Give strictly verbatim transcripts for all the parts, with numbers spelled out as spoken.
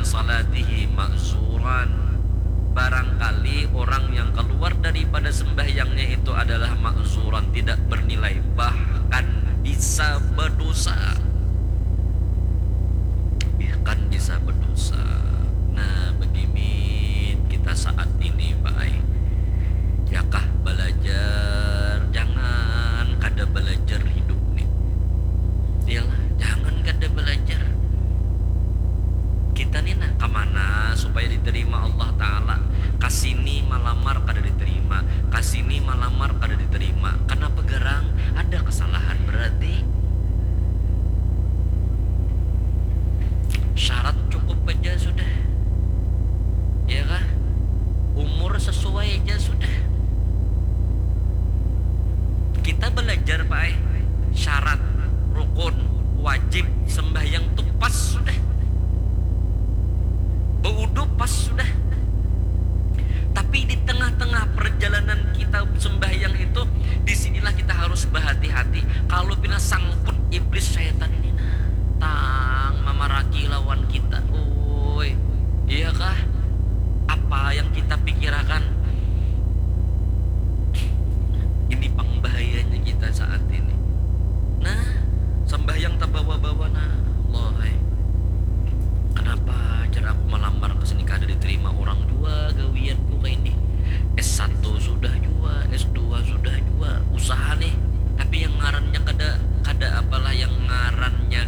salatihi ma'zuran. Barangkali orang yang keluar daripada sembahyangnya itu adalah ma'zuran, tidak bernilai, bahkan bisa berdosa. Bahkan bisa berdosa. Nah, begini kita saat ini, Pak ai. Yakah belajar, jangan kada belajar hidup nih. Iyalah, jangan kada belajar. Kita nih nah, kemana supaya diterima Allah Ta'ala? Kasini malamar kada diterima, kasini malamar kada diterima. Kenapa gerang? Ada kesalahan berarti. Syarat cukup aja sudah. Ya kah? Umur sesuai aja sudah. Kita belajar, Pak eh. Syarat, rukun, wajib, sembahyang tuh pas sudah. Beudu pas sudah. Tapi di tengah-tengah perjalanan kita sembahyang itu, disinilah kita harus berhati-hati. Kalau pina sangkut iblis syaitan ini nah, tang mamaraki lawan kita. Oi, iya kah? Apa yang kita pikirakan? Ini pang bahayanya kita saat ini. Nah, sembahyang tabawa-bawa nah. Allah ai. Kenapa jar aku malamar ke sini kada diterima orang jua gawianku kayak ini. S satu sudah jua, S dua sudah jua, usaha nih. Tapi yang ngarannya kada kada apalah yang ngarannya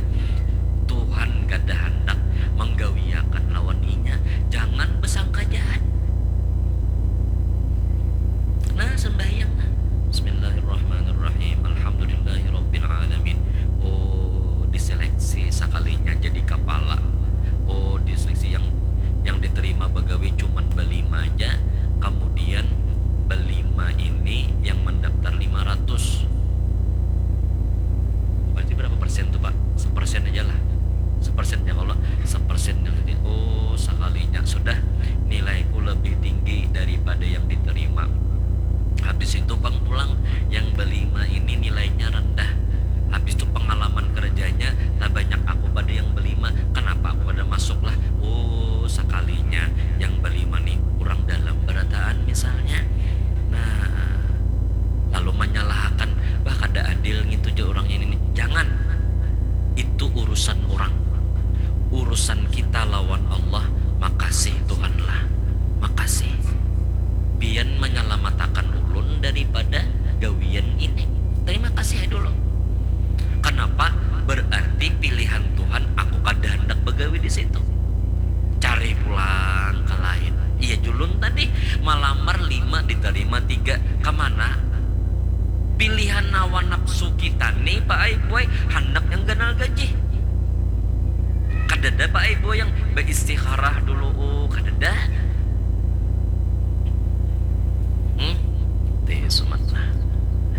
Tuhan kada hendak menggawiakan lawan inya. Jangan bersangka jahat. Nah, sembahyang nah. Bismillahirrahmanirrahim. Alhamdulillahirabbil alamin. Oh, diseleksi sekalinya jadi kepala. Oh, diseleksi yang yang diterima begawi cuman belima aja. Kemudian belima ini yang mendaftar lima ratus. Berarti berapa persen tuh, Pak? Sepersen aja lah. Sepersen ya kalau sepersen yang ini, oh, sekalinya sudah nilaiku lebih tinggi daripada yang diterima. Habis itu pang pulang yang belima ini nilainya rendah. Habis itu pengalaman kerjanya tak banyak aku pada yang belima. Kenapa aku pada masuk lah? Oh, sekalinya yang belima nih orang dalam berataan misalnya. Nah, lalu menyalahkan, wah, kada adil gitu aja orang ini nih. Jangan. Itu urusan orang. Urusan kita lawan Allah. Makasih Tuhan lah. Makasih. Pian menyelamatakan ulun daripada gawian ini. Terima kasih dulu. Kenapa? Berarti pilihan Tuhan aku kada hendak begawi di situ. Cari pulang ke lain. Iya julun tadi malamar lima diterima tiga. Kemana? Pilihan hawa nafsu kita nih, Pak ai, buai, handak yang ganal gaji. Kadada, Pak ai, buai, yang beistikharah dulu, oh, kadada. Hmm? Teh sumat.